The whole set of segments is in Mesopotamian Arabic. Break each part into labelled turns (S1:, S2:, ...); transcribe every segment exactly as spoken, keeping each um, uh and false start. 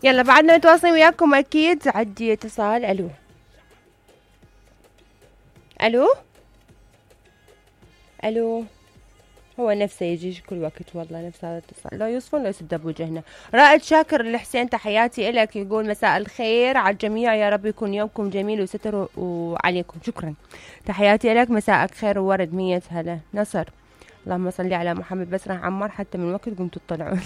S1: يلا بعدنا نتواصل وياكم اكيد. عندي اتصال. الو الو الو هو نفسه يجي كل وقت والله نفس هذا الاتصال، لا يوصفون لا يسد بوجهنا. رائد شاكر الحسين تحياتي لك، يقول مساء الخير على الجميع، يا رب يكون يومكم جميل وستر وعليكم. شكرا تحياتي لك، مساءك خير وورد. مية هلا. نصر اللهم صل على محمد. بس راح عمار حتى من وقت قمتوا تطلعون.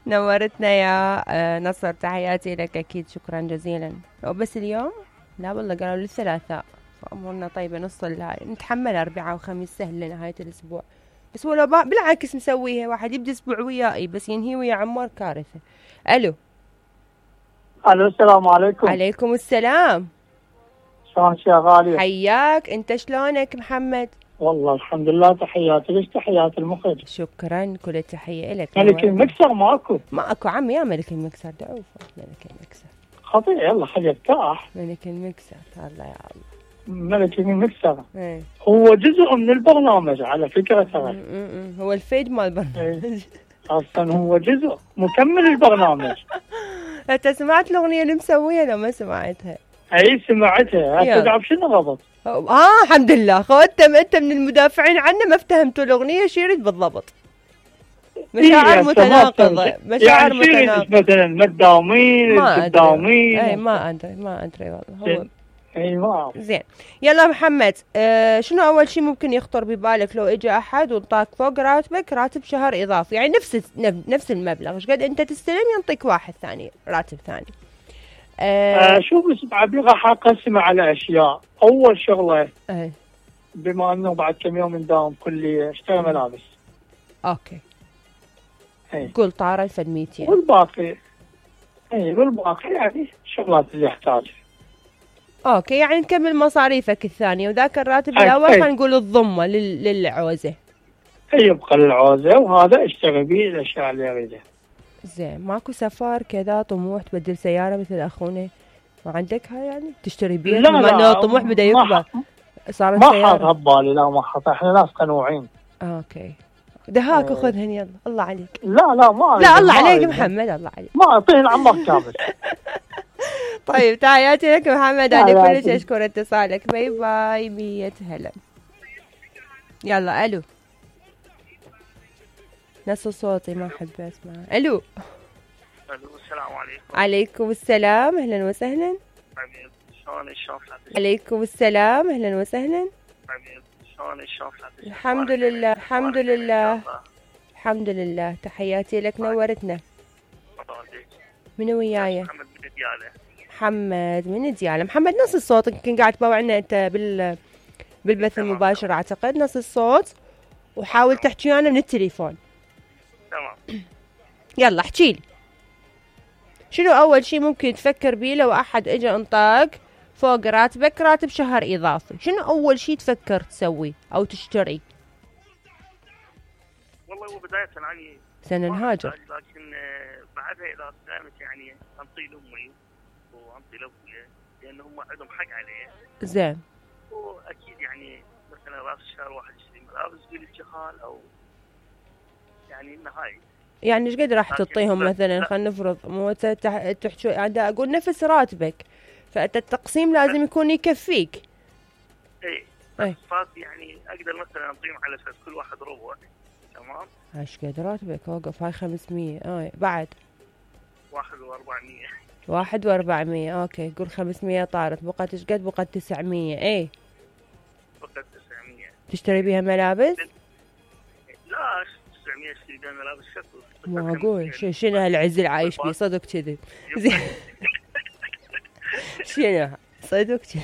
S1: نورتنا يا نصر، تحياتي لك اكيد. شكرا جزيلا. بس اليوم لا والله قالوا للثلاثاء، فأمورنا طيبة نص الهاي، نتحمل أربعاء وخميس سهل لنهاية الأسبوع. بس ولا بالعكس مسويها، واحد يبدأ أسبوع وياي بس ينهي ويا عمار كارثة. ألو
S2: ألو السلام عليكم.
S1: عليكم السلام.
S2: شلونك يا غالية؟
S1: حياك. أنت شلونك محمد؟
S2: والله الحمد لله. تحياتي ليش تحيات المخرج.
S1: شكرا كل التحية لك.
S2: ملك المكسر ماكو؟
S1: ماكو عمي يا ملك المكسر. دعوفة ملك المكسر
S2: خطير. يلا خلي يرتاح.
S1: ملك المكسر. الله يا الله.
S2: ملك المكسر
S1: ايه.
S2: هو جزء من البرنامج على فكرة ترى.
S1: هو الفيد مال البرنامج.
S2: ايه. اصلا هو جزء مكمل البرنامج.
S1: انت سمعت الاغنية اللي مسويها لو ما سمعتها؟
S2: اي سمعتها. هتدعب شنو غلط؟
S1: اه الحمد لله. خوت انت من المدافعين عنه، ما افتهمتوا الاغنية شو يريد بالضبط. مشاعر متناقضة. مشاعر
S2: يعني
S1: متناقضة.
S2: مثلا ما تداومين
S1: ما
S2: تداومين.
S1: اي ما ادري ما ادري والله. هو
S2: اي ما
S1: زين. يلا محمد، آه شنو اول شيء ممكن يخطر ببالك لو اجى احد وانطاك فوق راتبك راتب شهر اضافي، يعني نفس نفس المبلغ، ايش قد انت تستلم ينطيك واحد ثاني راتب ثاني؟
S2: آه آه شوف بس بعد راح اقسمه على اشياء. اول شغله
S1: اي
S2: بما انه بعد كم يوم نداوم كليه اشتري ملابس.
S1: اوكي.
S2: اي
S1: قول طار ألف ومئتين.
S2: والباقي اي والباقي يعني الشغلات اللي يحتاجها.
S1: اوكي، يعني نكمل مصاريفك الثانيه، وذاك الراتب الاول خلينا نقول الضمه لل... للعوزه.
S2: يبقى للعوزه، وهذا اشتري به الاشياء اللي اريدها.
S1: زين. ماكو سفر كذا طموح تبدل سياره مثل اخونا؟ ما عندك هاي يعني تشتري بيت؟
S2: لا لا
S1: الطموح بدا يكبر.
S2: صارت ما حاط ببالي. لا ما حاط. احنا ناس قنوعين.
S1: اوكي. دهاك وخذهن يلا. الله عليك.
S2: لا لا ما
S1: لا الله عليك محمد. الله عليك.
S2: ما اعطيهن عمر كامل.
S1: طيب تحياتي لك محمد، انا كلش اشكر اتصالك. باي باي. مية هلا. يلا الو. نص صوتي ما احب اسمع. الو.
S3: الو السلام عليكم.
S1: عليكم السلام اهلا وسهلا.
S3: حبيبي شلونك؟ شلون
S1: عليكم السلام اهلا وسهلا.
S3: حبيبي شلونك؟ شلون
S1: الحمد لله الحمد لله الحمد لله. تحياتي لك نورتنا. من وياي؟
S3: محمد من دياله.
S1: محمد من دياله. محمد نص الصوت يمكن قاعد تباوعنا انت بال بالبث المباشر اعتقد. نص الصوت وحاول تحكي ويانا من التليفون.
S3: تمام.
S1: يلا احكي لي شنو اول شيء ممكن تفكر بيه لو احد اجى انطاك فوق راتبك راتب شهر اضافي؟ شنو اول شيء تفكر تسوي او تشتري؟
S3: والله هو بداية يعني
S1: سنة نهاجر،
S3: لكن بعدها اذا قامت يعني انطي لامي وانطي لابويا لان هم عندهم حق عليه.
S1: زين.
S3: واكيد يعني مثلا راس الشهر واحد يشتري ملابس بالجهال او يعني انه هاي.
S1: يعني ايش قد راح تعطيهم مثلا؟ خلينا نفرض مو تحكي يعني اقول نفس راتبك، فانت التقسيم لازم يكون يكفيك.
S3: اي اي بس يعني اقدر مثلا اعطيهم على اساس كل واحد ربع. تمام.
S1: ايش قد راتبك؟ اوقف هاي خمسمية. اه بعد
S3: واحد واربعمية.
S1: واحد واربعمية. اوكي قول خمسمية طارت، بقت ايش قد؟ بقت تسعمية. اي
S3: بقت تسعمية.
S1: تشتري بيها ملابس؟
S3: لا تسعمية اشتري بيها ملابس شكو.
S1: ما اقول شنو هالعز اللي عايش بيه؟ صدق كذي. زين. شنو صدق كذي.